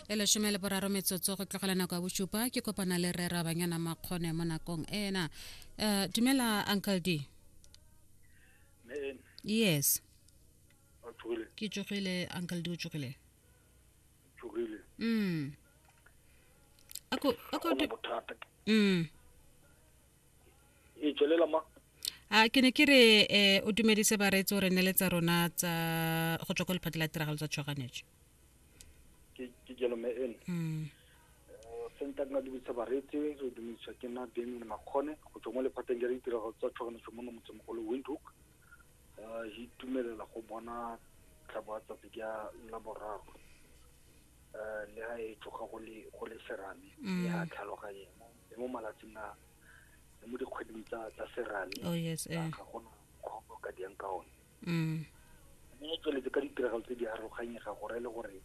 E 13 metsotso go tlogela nako ya bosupa, ke kopana le rre Rabanyana Makgone mo nakong ena. Dumela, Uncle D. Men. Yes. O tsogile? Ke tsogile, Uncle D, o tsogile? Tsogile. Ako Ga gona bothata. E tswelela ma. A ke ne ke re o dumedise bareetsi, o re neletsa rona tsa go tswa ko lephata la tiragalo tsa tshoganetso. Ke jalo, me ene. Senta nka dumedisa bareetsi, re dumedisa ke nna Damien Makgone go tswa mo lephateng la ditiragalo tsa tshoganetso mo motsemogolo Windhoek. Re itumelela go bona tlhabo ya tsatsi ka Laboraro. Le ha e tsoga go le serame, le ha tlhaloganye le mo malatsing a le mo dikgweding tsa serame. Oh yes. Ga gona mokgwa o ka diang ka one. Mme e tsweletse ka ditiragalo tse di harologanyega gore le gore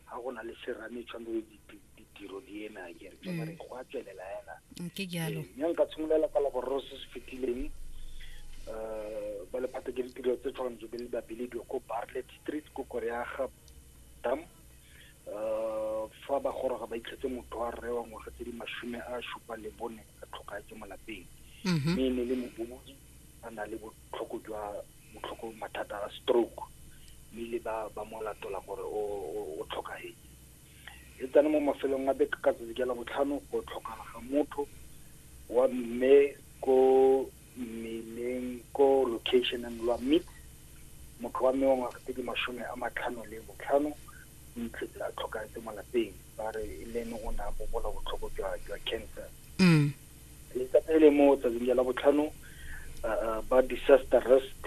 ga go na le serame, tshwanetse ditiro di eme a kere jalo go a tswelela ena. Ke jalo. Mme nka tshimolola ka Laboraro se se fetileng. Ba lephata ke ditiro tse tshwanetse be le ba bilediwa ko Barlet Street ko Koreaga Dam. Fa ba goroga, ba itlhetse motho wa rre wa ngwaga tse di 74 a tlhokahetse mo lapeng. Mme e ne le mobobodi, a na le botlhoko jwa botlhoko, mathata a stroke, mme ile ba mo latola gore o tlhokahetse. E tsene mo mafelong a beke ka tsatsi ka Labotlhano, go tlhokala ga motho wa mme ko mmeleng ko locationeng lwa Meat. Motho wa mme wa ngwaga tse di 55 o itlhetse a tlhokahetse mo lapeng. Ba re le ene o ne a bobola botlhoko jwa cancer. Letsatsi le mo tsatsing la Labotlhano, ba disaster risk